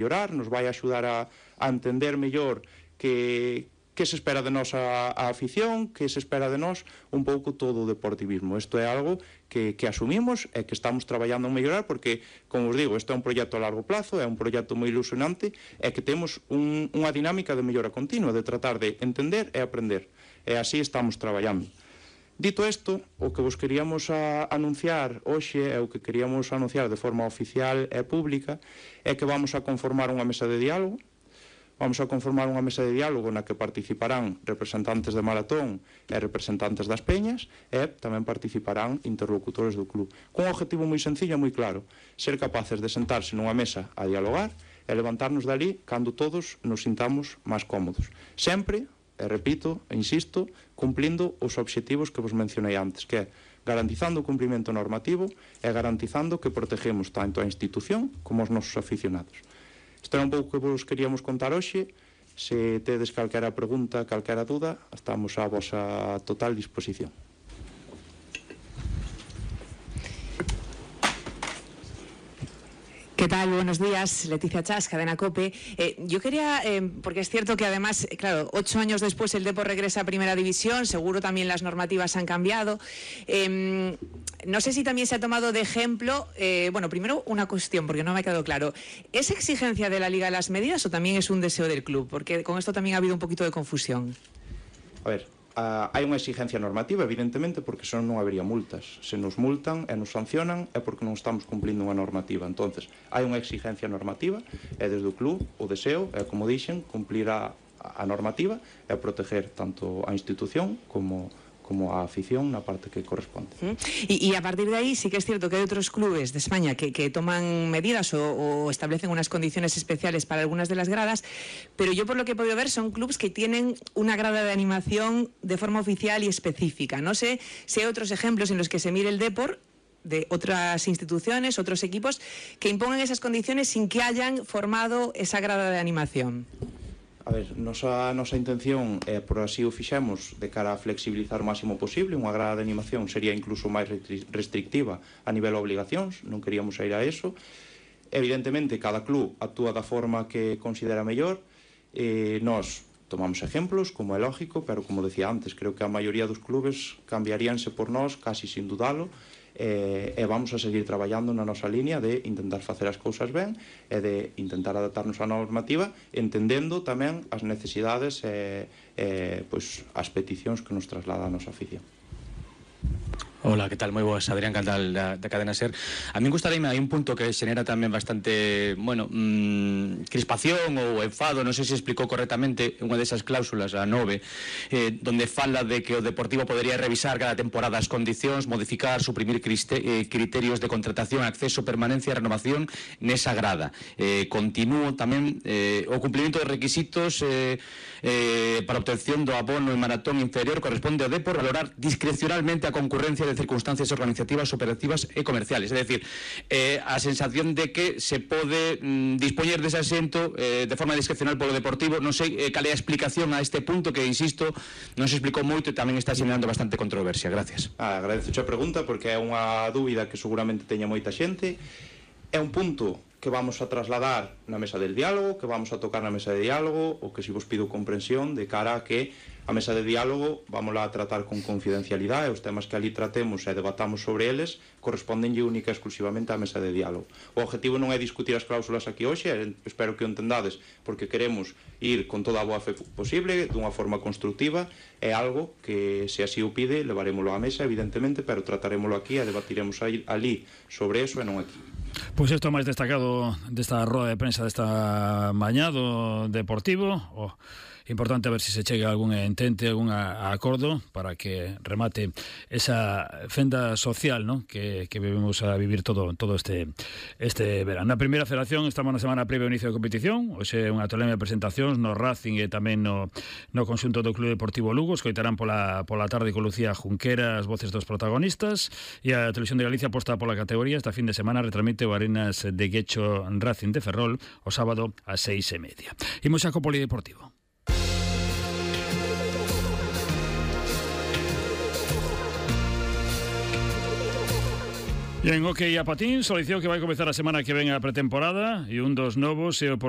mellorar, nos vai axudar a entender mellor que se espera de nós a afición, que se espera de nós un pouco todo o deportivismo. Isto é algo que asumimos e que estamos traballando en mellorar porque, como os digo, isto é un proxecto a largo plazo, é un proxecto moi ilusionante e que temos unha dinámica de mellora continua, de tratar de entender e aprender. E así estamos traballando. Dito isto, o que vos queríamos anunciar hoxe e o que queríamos anunciar de forma oficial e pública é que vamos a conformar unha mesa de diálogo. Vamos a conformar unha mesa de diálogo na que participarán representantes de Maratón e representantes das peñas e tamén participarán interlocutores do club. Cun objetivo moi sencillo e moi claro, ser capaces de sentarse nunha mesa a dialogar e levantarnos dali cando todos nos sintamos máis cómodos. Sempre, e repito, e insisto, cumplindo os obxectivos que vos mencionei antes, que é garantizando o cumprimento normativo e garantizando que protegemos tanto a institución como os nosos aficionados. Isto era un pouco que vos queríamos contar hoxe. Se tedes calquera pregunta, calquera duda, estamos á vosa total disposición. ¿Qué tal? Buenos días, Leticia Chas, Cadena COPE. Yo quería, porque es cierto que además, claro, 8 años después el Depor regresa a Primera División, seguro también las normativas han cambiado. No sé si también se ha tomado de ejemplo, bueno, primero una cuestión, porque no me ha quedado claro. ¿Es exigencia de la Liga las medidas o también es un deseo del club? Porque con esto también ha habido un poquito de confusión. A ver, hai unha exigencia normativa, evidentemente, porque senón non habería multas. Se nos multan e nos sancionan é porque non estamos cumplindo unha normativa. Entonces, hai unha exigencia normativa e desde o club o deseo é, como dixen, cumplir a normativa e proteger tanto a institución como a afición na parte que corresponde. Y a partir de ahí sí que es cierto que hay otros clubes de España que toman medidas o establecen unas condiciones especiales para algunas de las gradas, pero yo por lo que he podido ver son clubes que tienen una grada de animación de forma oficial y específica. No sé si hay otros ejemplos en los que se mire el Depor de otras instituciones, otros equipos que impongan esas condiciones sin que hayan formado esa grada de animación. A ver, nosa intención é, por así o fixemos, de cara a flexibilizar o máximo posible. Unha grada de animación sería incluso máis restrictiva a nivel de obligacións, non queríamos ir a eso. Evidentemente, cada club actúa da forma que considera mellor. Nós tomamos ejemplos, como é lógico, pero como decía antes, creo que a maioría dos clubes cambiaríanse por nós, casi sin dudalo, e vamos a seguir traballando na nosa línea de intentar facer as cousas ben e de intentar adaptarnos á normativa, entendendo tamén as necesidades e pois, as peticións que nos traslada a nosa afición. Hola, ¿qué tal? Moi boas, Adrián Cantal da Cadena SER. A min gustaríame, hai un punto que xenera tamén bastante, bueno, crispación ou enfado, non sei se explicou correctamente unha desas cláusulas, a 9, donde fala de que o Deportivo podería revisar cada temporada as condicións, modificar, suprimir criterios de contratación, acceso, permanencia e renovación nesa grada. Continúo tamén o cumprimento de requisitos para obtención do abono en maratón inferior corresponde ao Depor valorar discrecionalmente a concurrencia de circunstancias organizativas, operativas e comerciales. É dicir, a sensación de que se pode dispoñer dese asento de forma discrecional polo Deportivo. Non sei cal é a explicación a este punto que, insisto, non se explicou moito e tamén está xenerando bastante controversia. Gracias. Agradezo a pregunta porque é unha dúbida que seguramente teña moita xente. É un punto que vamos a trasladar na mesa del diálogo, que vamos a tocar na mesa de diálogo, o que si vos pido comprensión de cara a que a mesa de diálogo vamos a tratar con confidencialidade, os temas que ali tratemos e debatamos sobre eles correspondenlle única e exclusivamente á mesa de diálogo. O objetivo non é discutir as cláusulas aquí hoxe, espero que o entendades, porque queremos ir con toda a boa fe posible, dunha forma constructiva, é algo que, se así o pide, levarémoslo á mesa, evidentemente, pero trataremoslo aquí e debatiremos ali sobre eso e non aquí. Pois isto máis destacado desta roda de prensa desta mañá do Deportivo. Importante a ver se se chega a algún entente, algún acordo para que remate esa fenda social, ¿no?, que vivimos a vivir todo este verano. Na primeira federación estamos na semana previa ao inicio da competición. Hoxe unha tolemia de presentacións no Racing e tamén no conxunto do Club Deportivo Lugo. Escoitarán pola tarde con Lucía Junquera as voces dos protagonistas, e a Televisión de Galicia aposta pola categoría. Esta fin de semana retransmite o Arenas de Guecho Racing de Ferrol o sábado ás 6:30. Imos xa co Polideportivo. E en hockey a patín, solución que vai comezar a semana que ven a pretemporada e un dos novos é o portero